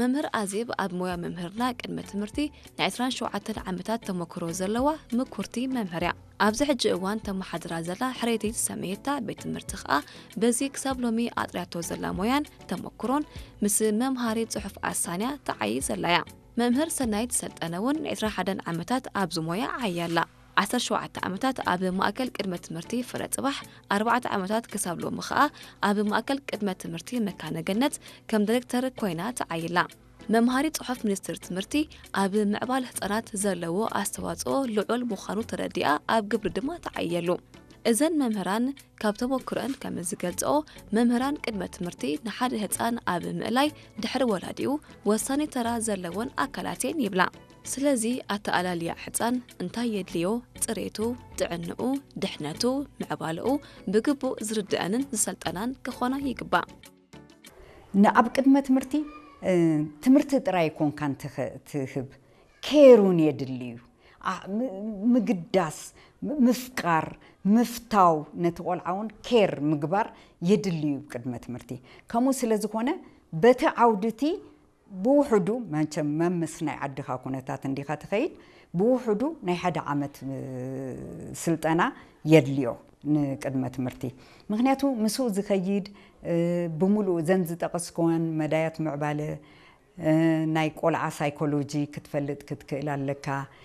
መምህር ኣዜብ ኣብ ሞያ መምህርና ቅድመ ትምህርቲ ናይ ዕስራን ሸውዓተን ዓመታት ተመክሮ ዘለዋ ምኩርቲ መምህር እያ። ኣብዚ ሕጂ እዋን ተመሓድራ ዘላ ሕርየተይ ዝሰመየታ ቤት ትምህርቲ ከኣ በዚ ክሳብ ሎሚ ኣጥርያቶ ዘላ ሞያን ተመክሮን ምስ መምሃሪ ጽሑፍ ኣሳንያ ተዓዪ ዘላ እያ። መምህር ሰናይት ሰልጠነ እውን ዕስራን ሓደን ዓመታት ኣብዚ ሞያ ዓይያ ኣላ። ዓሰርተ ሸውዓተ ዓመታት ኣብ ማእከል ቅድመ ትምህርቲ ፍረ ጽባሕ፣ ኣርባዕተ ዓመታት ክሳብ ሎሚ ከኣ ኣብ ማእከል ቅድመ ትምህርቲ መካነ ገነት ከም ዳይሬክተር ኮይና ተዓይላ። መምሃሪ ጽሑፍ ሚኒስትሪ ትምህርቲ ኣብ ምዕባል ህጻናት ዘለዎ ኣስተዋጽኦ ልዑል ምዃኑ ተረዲኣ ኣብ ግብሪ ድማ ተዓየሉ። እዘን መምህራን ካብ ተመክሮአን ከም ዝገልጽኦ፣ መምህራን ቅድመ ትምህርቲ ንሓደ ህጻን ኣብ ምእላይ ድሕሪ ወላዲኡ ወሳኒ ተራ ዘለወን ኣካላት እየን ይብላ። ስለዚ ኣተኣላልያ ሕጻን እንታይ የድልዮ፣ ጽሬቱ፣ ጥዕንኡ፣ ድሕነቱ፣ ምዕባለኡ ብግቡእ ዝርድአንን ዝሰልጠናን ክኾና ይግባእ። ንኣብ ቅድመ ትምህርቲ እ፣ ትምህርቲ ጥራይ ኣይኮንካን ትኸ- ትህብ፣ ኬር እውን የድሊ እዩ። ኣ- ም- ምግዳስ፣ ም- ምፍቃር፣ ምፍታው፣ ነቲ ቆልዓ እውን ኬር ምግባር የድሊ እዩ ቅድመ ትምህርቲ። ከምኡ ስለ ዝኾነ በቲ ዓውዲ እቲ ብውሕዱ መቸም መምስ ናይ ዓድኻ ኩነታት እንዲኻ ትኸይድ፣ ብውሕዱ ናይ ሓደ ዓመት እ፣ ስልጠና የድልዮ ንቅድመ ትምህርቲ። ምክንያቱ ምስኡ ዝኸይድ እ፣ ብምሉኡ ዘን ዝጠቐስክወን መዳያት ምዕባለ እ፣ ናይ ቆልዓ ሳይኮሎጂ ክትፈልጥ ክትክእል ኣለካ።